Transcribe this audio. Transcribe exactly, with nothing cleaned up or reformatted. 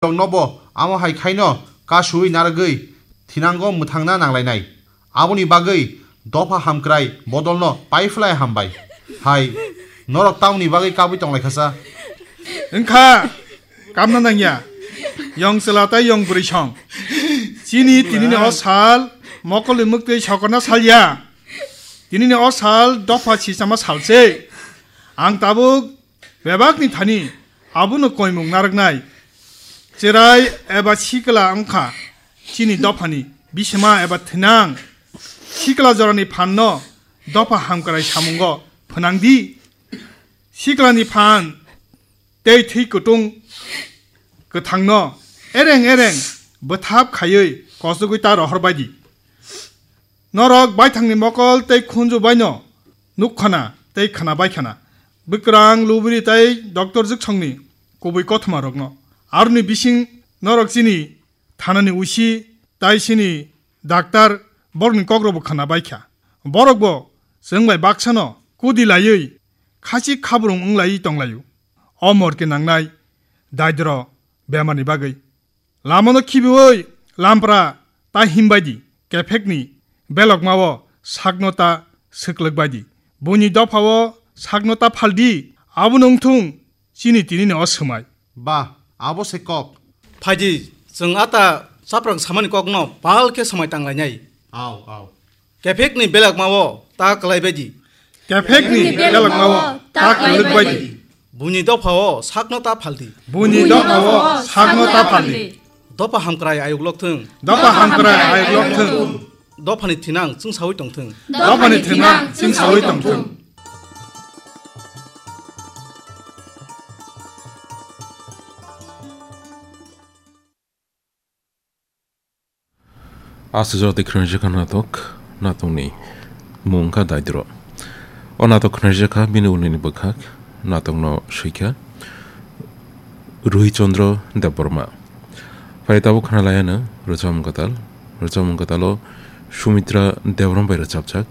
Tongnobo amo hai khaino kasui narwgwi thinango mwthangna nanglainai. Aboni bagwi dopha hamkrai bodolno paiphlai hambai. Hai, norok tamoni bagwi kabwi tonglaikha sa? Wngkha, kamna nangya. Yong chwla tei yong bwrwi song. Chini tinini o sal mokolni mwktwi sokorna salya. Tinini o sal dopha sichama salse. Ang tabuk bebakni thani abono koimung narwknai. Cherai eba sikla wngkha chini dophani bisima eba thinang. Sikla jorani phanno dopha hamkrai samungo phnangdi. Siklani phan tei thwi kutung kwthangno ereng ereng bwthap khaiwi kosogwi ta rohorbaidi. Norok baithangni mokol tei khunju baino nukkhana tei khnabai khana. Bwkrang, lubri tei doctor jwksongni kubui kothoma rokno. Aroni bising norok chini thanani usi tei chini daktar borokni kokrokbo khnabai kha. Borokbo chwng bai baksano kudi laiwi khachik khabrung wng laiwi tonglaio. O morke nangnai daidro bemarni bagwi. Lamano khibiui lampra ta himbaidi, kephekni belokmao sakno ta swklwkbaidi. Buini dophao sakno ta phaldi, abono wngthung chini tinini o swmai. Ba, abo se kok. Phaidi, chwng ata chaprang samani kokno pal khe swmai tanglainai. Au, au. Kephekni belokmao ta kwlaibaidi. Kephekni belokmao ta kwlwkbaidi. Buini dophao sakno ta phaldi. Buini dophao sakno ta phaldi. Dopha hamkrai ayuk lokthwng. Dopha hamkrai ayuk lokthwng. Dophani thinang chwngsaui tongthwng. Dophani thinang chwngsaui tongthwng. Aswk jora tei khwnaijak kha natok, natokni mung wngkha Daidro. O natok khwnaijak kha bini ulini bwkhak, natokno swikha Ruhi Chandra Debbarma. Phai tabuk khwnalaiano Rwchapmung Kwtal, Rwchapmung Kwtalo Sumitra Debbarma bai rwchapjak.